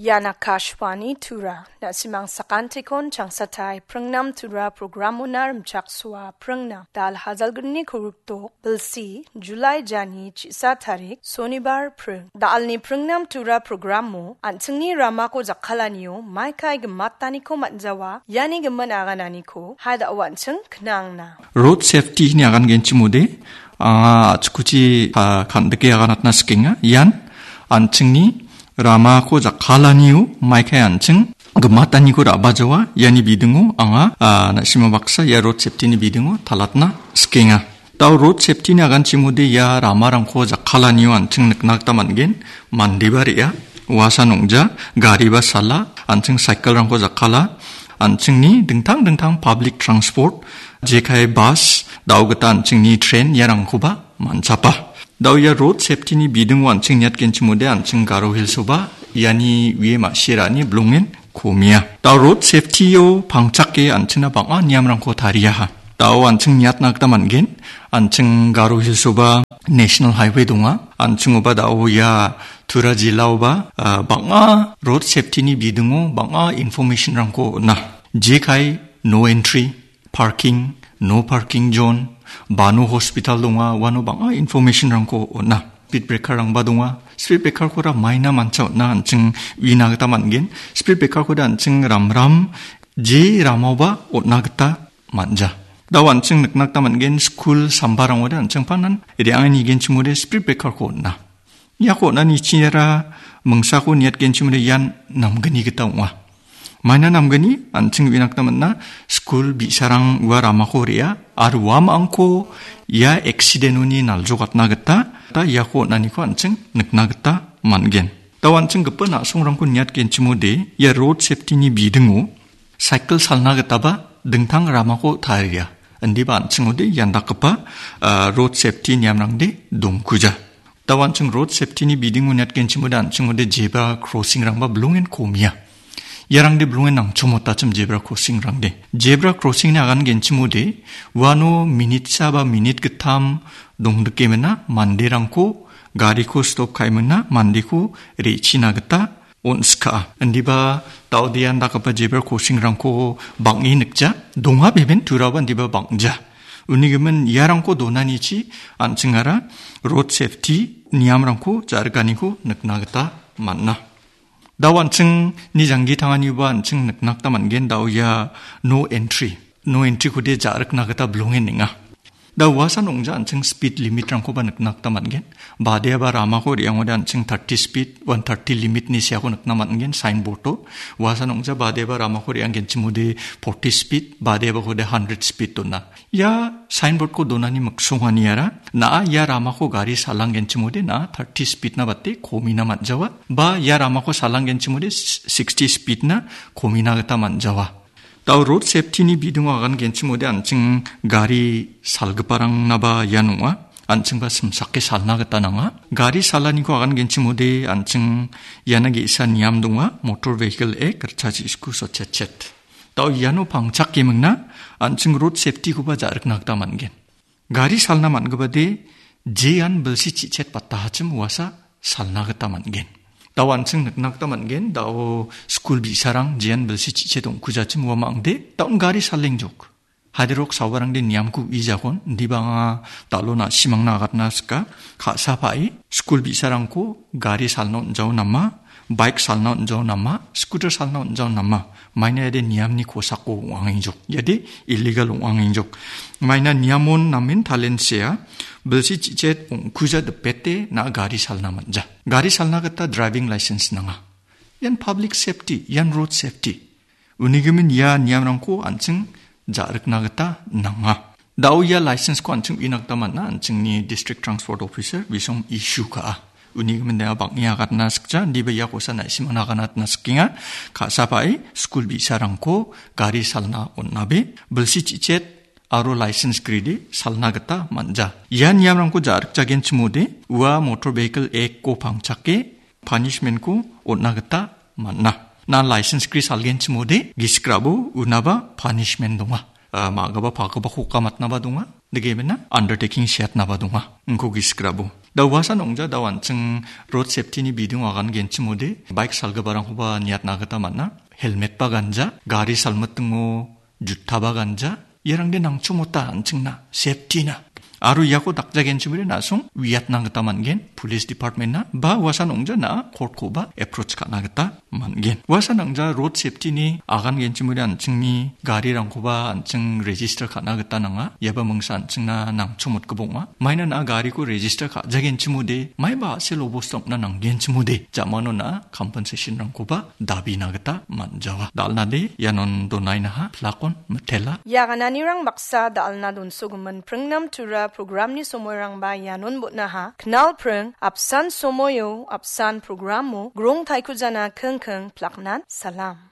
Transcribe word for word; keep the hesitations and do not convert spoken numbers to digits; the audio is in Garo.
Ian Akashvani Tura, na·simang sakantikon changsatai pringnam Tura programona rimchaksoa pringnam. Dal hajalgni kurukdok, bilsi, July jani chisa tarik, Sonibar pring. Dalni pringnam Tura programo, an·chingni ramako jakkalanio, maikai gimataniko man·jawa, iani gimin agananiko, hai da·o an·ching knangna. Road safety-ni agan genchimode, anga achikuchi, ah, kandike aganatna sikenga. Ian an·chingni ramako jakkalanio maikai an·ching gimataniko ra·bajawa. Iani bidingo anga, ah, na·sima baksa ia road safety-ni bidingo talatna sikenga. Dao road safety-ni aganchimode ia ramarangko jakkalanio an·ching nikna gita man·gen. Mandeba re·a, uasan ong·ja, gariba sala, an·ching cycle-rangko jakkala, an·chingni dingtang dingtang public transport, jekai bus, dao gita an·chingni train iarangkoba man·chapa. Dao ia road safety-ni bidingo an·ching niatgenchimode an·ching Garo Hills-oba iani wie ma·sirani bilongen komia. Dao road safety-o pangchake an·chingna bang·a niamrangko tariaha. Dao an·ching niatna gita man·gen, an·ching Garo Hills-oba National Highway donga, an·chingoba dao ia Tura jilaoba, ah, bang·a road safety-ni bidingo bang·a information-rangko on·a. Jekai no entry, parking, no parking zone, bano hospital donga, uano bang·a information-rangko on·a. Speed breaker-rangba donga. Speed breaker-kora maina mancha on·a an·ching uina gita man·gen. Speed breaker-koda an·ching ramram je ramaoba on·a gita man·ja. Dao an·ching nikna gita man·gen, skul sambarangode an·ching panan re·angani genchimode speed breaker-ko on·a. Iako on·ani chingera mingsako niatgenchimode ian namgni gita ong·a. Maina namgni an·ching uina gita man·a, skul bi·sarang ua ramako re·a, aro uamangko ia accident-oni naljokatna gita, ta iako on·aniko an·ching nikna gita man·gen. Dao an·ching gipin a·songrangko niatgenchimode, ia road safety-ni bidingo cycle salna gitaba dingtang ramako taria. Indiba an·chingode ian dakgipa, ah, road safety niamrangde dongkuja. Dao an·ching road safety-ni bidingo niatgenchimode an·chingode zebra crossing-rangba bilongen komia. Iarangde bilongen nangchomotachim zebra crossing-rangde. Zebra crossing-ni agan genchimode uano minitsa ba minit gittam dongdikemina manderangko gariko stop ka·emina mandeko re·china gita on·skaa. Indiba dao de ian dakgipa zebra crossing-rangko bang·e nikja. Donga beben turaba indiba bang·ja. Unigimin iarangko donanichi an·chingara road safety niamrangko ja·rikaniko nikna gita man·a. Dao an·chingni janggi tanganiba an·ching nikna gita man·gen, dao ia no entry. No entry-kode ja·rikna gita bilongen ning·a. Da uasan ong·ja an·ching speed limit-rangkoba nikna gita man·gen. Badeaba ramako re·angode an·ching thirty speed, one thirty limit-ni seako nikna man·gen, signboard-o. Uasan ong·ja badeaba ramako re·anggenchimode forty speed, badeabakode hundred speed dona. Ia signboard-ko donani miksonganiara, na·a ia ramako gari salanggenchimode na·a thirty speed-na bate komina man·jawa. Ba ia ramako salanggenchimode sixty speed-na komina gita man·jawa. Dao road safety-ni bidingo agangenchimode an·ching gari salgiparangnaba ian ong·a. An·chingba simsake salna gita nanga. Gari salaniko agangenchimode an·ching iana ge·sa niam donga, Motor Vehicle Act, ritchasisku sotchetchet. Dao iano pangchakemingna an·ching road safety-koba ja·rikna gita man·gen. Gari salna man·gipade jean bilsi chichet battahachim uasa salna gita man·gen. Dao an·ching nikna gita man·gen, dao skul bi·sarang jean bilsi chichet ong·kujachim ua ma·angde, daon gari salengjok. Hadirok sawarangde niamko uijakon, indiba anga dalo na·simangna agatna sika, ka·sa pa·e, skul bi·sarangko gari salna on·jao nama, bike salna on·jao nama, scooter salna on·jao nama, maina iade niamni kosako ong·angengjok. Iade illegal ong·angengjok. Maina niamon namen talensea, bilsi chichet ong·kuja dipete na gari salna man·ja. Gari salna gita driving license nanga. Ian public safety, ian road safety. Unigimin ia niamrangko an·ching ja·rikna gita nanga. Dao ia license-ko an·ching uina gita man·a, an·chingni District Transport Officer bisom issue ka·a. Unigimin dea bang·e agatna sikja, indiba ia kosa na·simangna aganatna sikenga. Ka·sa pa·e skul bi·sarangko gari salna on·abe, bilsi chichet aro license gride salna gita man·ja. Ia niamrangko ja·rikjagenchimode, ua Motor Vehicle Act-ko pangchake, punishment-ko on·na gita man·a. Na license gri salgenchimode, gisik rabo unaba punishment donga. Ah, ma·gipa pagipa kokamatnaba donga. Degimina undertaking seatnaba donga. Ingko gisik rabo. Da uasan ong·ja, da an·ching road safety-ni bidingo agangenchimode, bike salgiparangkoba niatna gita man·a. Helmet-ba ganja, gari salmitingo juta-ba ganja, iarangde nangchomota an·chingna, safety-na. Aro iako dakjagenchimode na·song uiatna gita man·gen, police department-na, ba uasan ong·ja na court-koba approach ka·na gita man·gen. Uasan ong·ja road safety-ni agangenchimode an·chingni garirangkoba an·ching register ka·na gita nanga. Iaba mingsa an·chingna nangchomotgipa ong·a. Maina na gariko register ka·jagenchimode, maiba a·sel obosta ong·na nanggenchimode, jamano na compensation-rangkoba dabina gita man·jawa. Dal·nade ianon donainaha, plak on, mitela. Ia gananirang baksa dal·na donsogimin pringnam tura programni somoirangba ianon botnaha. Knal pring, apsan somoio, apsan programo, grong taikujana kengkeng plaknan salam.